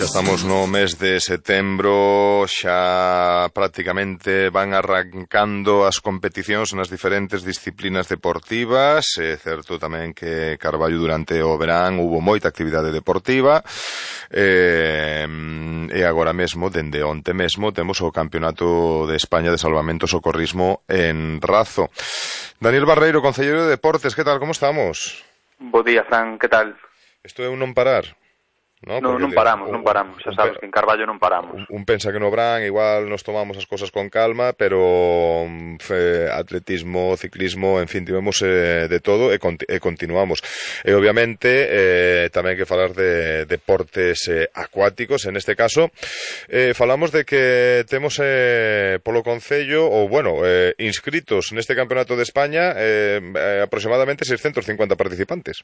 Xa estamos no mes de setembro, xa prácticamente van arrancando as competicións nas diferentes disciplinas deportivas. É certo tamén que Carballo durante o verán hubo moita actividade deportiva e agora mesmo, dende onte mesmo, temos o Campeonato de España de Salvamento e Socorrismo en Razo. Daniel Barreiro, concelleiro de Deportes, que tal, como estamos? Bo día, Fran, que tal? Isto é un non parar. Non paramos, xa sabes que en Carballo non paramos. Un pensa que no Bran igual nos tomamos as cosas con calma, pero atletismo, ciclismo, en fin, tivemos de todo e continuamos. E obviamente tamén hai que falar de deportes acuáticos, en este caso falamos de que temos polo Concello, ou bueno, inscritos neste Campeonato de España aproximadamente 650 participantes.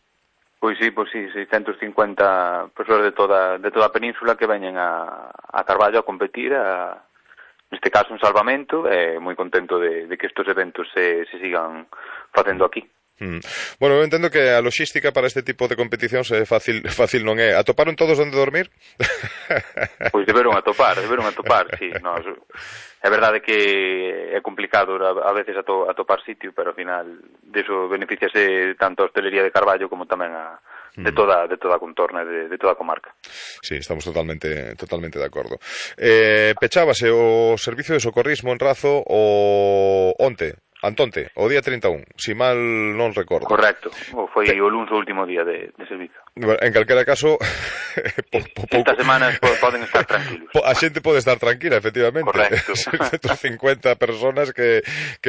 Pois sí, 650 persoas de toda a península que veñen a Carballo a competir, neste caso en salvamento, e moi contento de que estes eventos se sigan facendo aquí. Bueno, eu entendo que a logística para este tipo de competicións é fácil non é. Atoparon todos onde dormir? Pois deberon atopar, sí. É verdade que é complicado a veces atopar sitio, pero ao final deso beneficiase tanto a hostelería de Carballo como tamén de toda a contorna, de toda a comarca. Sí, estamos totalmente de acordo. Pechábase o servicio de socorrismo en Razo Antonte, o día 31, si mal non recordo. Correcto, foi o luns o último día de servicio. En calquera caso, estas semanas poden estar tranquilos. A xente pode estar tranquila, efectivamente. Correcto. 150 personas que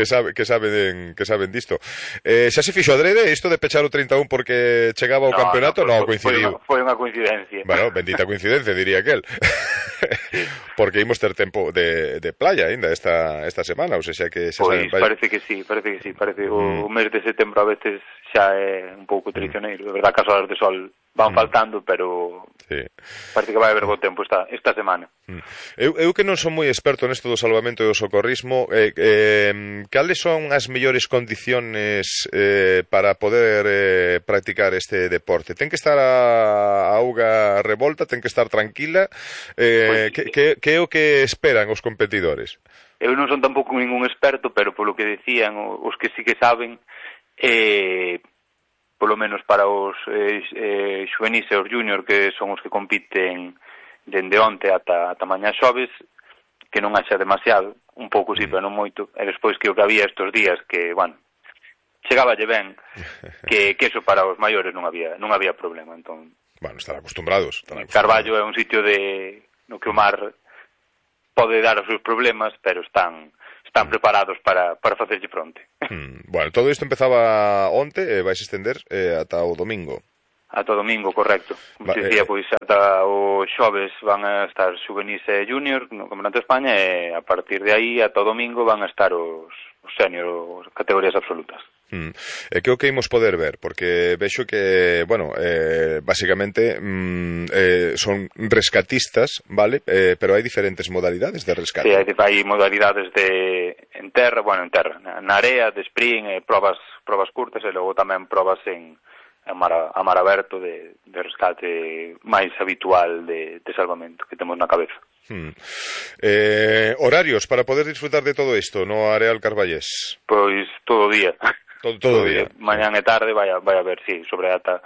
saben disto. Xa se fixo adrede isto de pechar o 31 porque chegaba o campeonato? Non, coincidiu. Foi unha coincidencia. Bueno, bendita coincidencia, diría aquel. Sí. Porque imos ter tempo de playa ainda esta semana, ou seja que xa saben, parece que sí. O mes de setembro a veces xa é un pouco traicioneiro. De verdade que as horas de sol van faltando, pero sí, parece que vai haber bo tempo esta semana. Eu que non son moi experto nesto do salvamento e do socorrismo, cales son as mellores condiciones para poder practicar este deporte? Ten que estar a auga revolta, ten que estar tranquila? Que é o que esperan os competidores? Eu non son tampouco ningún experto, pero polo que decían os que sí que saben, polo menos para os xuvenis e os junior, que son os que compiten dende onte ata mañá xoves, que non haxa demasiado, un pouco sí, pero non moito, e despois que o que había estes días, que, bueno, chegáballe ben, que eso para os maiores non había problema, entón. Bueno, estar acostumbrados. Carballo é un sitio no que o mar pode dar os seus problemas, pero están preparados para facerlle fronte. Bueno, todo isto empezaba onte e vais estender ata o domingo. Ata o domingo, correcto. Como se dicía, pois ata o xoves van a estar xuvenis e junior no Campeonato de España e a partir de aí ata o domingo van a estar os senior, as categorías absolutas. E que o que imos poder ver? Porque vexo que, bueno, basicamente son rescatistas, vale? Pero hai diferentes modalidades de rescate. Sí, hai modalidades en terra, na area, de sprint, probas curtas e logo tamén probas a mar aberto de rescate máis habitual de salvamento que temos na cabeza. Horarios para poder disfrutar de todo isto no Areal Carballés? Pois todo o día. Todo día. Mañán e tarde vai haber, sí, sobre ata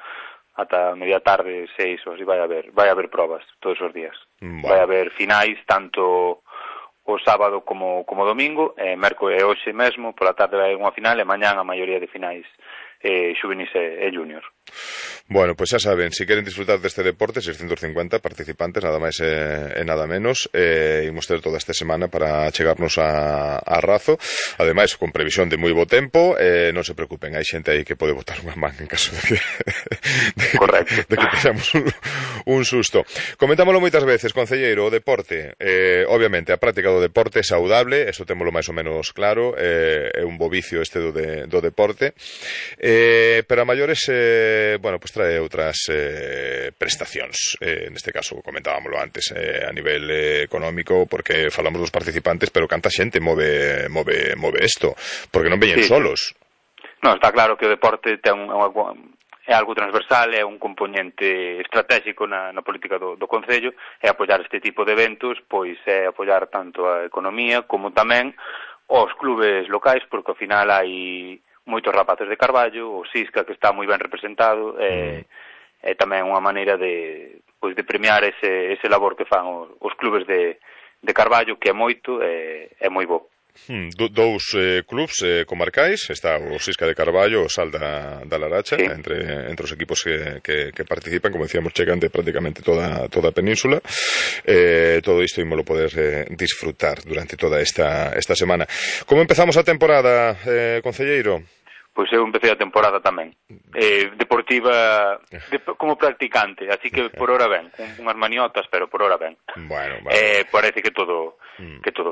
media tarde, 6 ou así, vai haber probas todos os días. Bueno. Vai haber finais tanto o sábado como domingo, mércores e hoxe mesmo, pola tarde vai unha final e mañán a maioría de finais xuvenis e junior. Bueno, pues xa saben, se queren disfrutar deste deporte, 650 participantes, nada máis e nada menos, imos ter toda esta semana para chegarnos a Razo, ademais con previsión de moi bo tempo, non se preocupen, hai xente aí que pode botar unha man en caso de que teñamos un susto. Comentámoslo moitas veces, concelleiro, o deporte, obviamente a práctica do deporte é saudable, eso témolo máis ou menos claro, é un bo vicio este do deporte, pero a maiores bueno, pues trae outras prestacións, neste caso comentábamoslo antes, a nivel económico, porque falamos dos participantes, pero canta xente move isto, porque non veñen solos. Non, está claro que o deporte ten é algo transversal, é un componente estratégico na política do Concello, é apoiar este tipo de eventos, pois é apoiar tanto a economía como tamén os clubes locais, porque ao final hai moitos rapaces de Carballo, o Sisca que está moi ben representado, é tamén unha maneira de premiar ese labor que fan os clubes de Carballo, que é moito, é moi bo. Dous clubs comarcais, está o Sisca de Carballo, o Sal da Laracha, sí. entre os equipos que participan, como decíamos, chegan de prácticamente toda a península. Todo isto ímolo poder disfrutar durante toda esta semana. Como empezamos a temporada, concelleiro? Pois eu empecé a temporada tamén deportiva como practicante, así que por hora ben, unhas maniotas, pero por hora ben. Bueno, vale. Parece que todo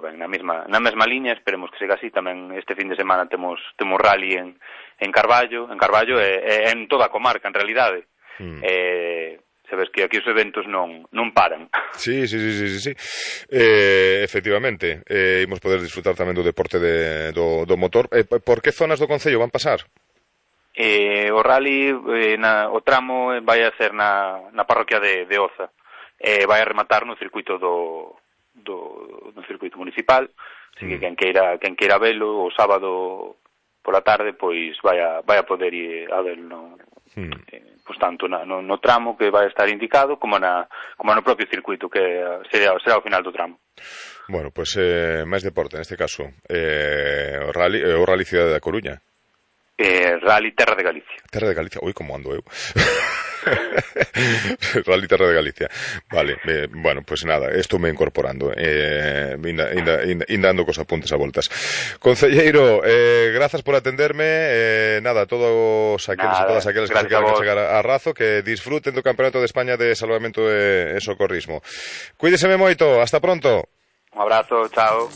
ben, na mesma liña, esperemos que siga así. Tamén este fin de semana temos rally en Carballo e en toda a comarca, en realidade. Sabes que aquí os eventos non paran. Sí. Efectivamente, imos poder disfrutar tamén do deporte do motor. Por que zonas do Concello van pasar? O rally, o tramo vai a ser na parroquia de Oza. Vai a rematar no circuito do circuito municipal. Así que quen queira velo o sábado pola tarde, pois vai a poder ir a velo pois tanto no tramo que vai estar indicado como no propio circuito, que será o final do tramo. Bueno, pois máis deporte neste caso. O Rally Cidade da Coruña. Rally Terra de Galicia. Terra de Galicia, ui, como ando eu. Rally Terra de Galicia. Vale, bueno, pues nada, estou me incorporando. Indando cos apuntes a voltas. Concelleiro, grazas por atenderme. Nada, todos aqueles e todas aquelas que se quedan chegar a razo, que disfruten do Campeonato de España de Salvamento e Socorrismo. Cuídeseme moito, hasta pronto. Un abrazo, chao.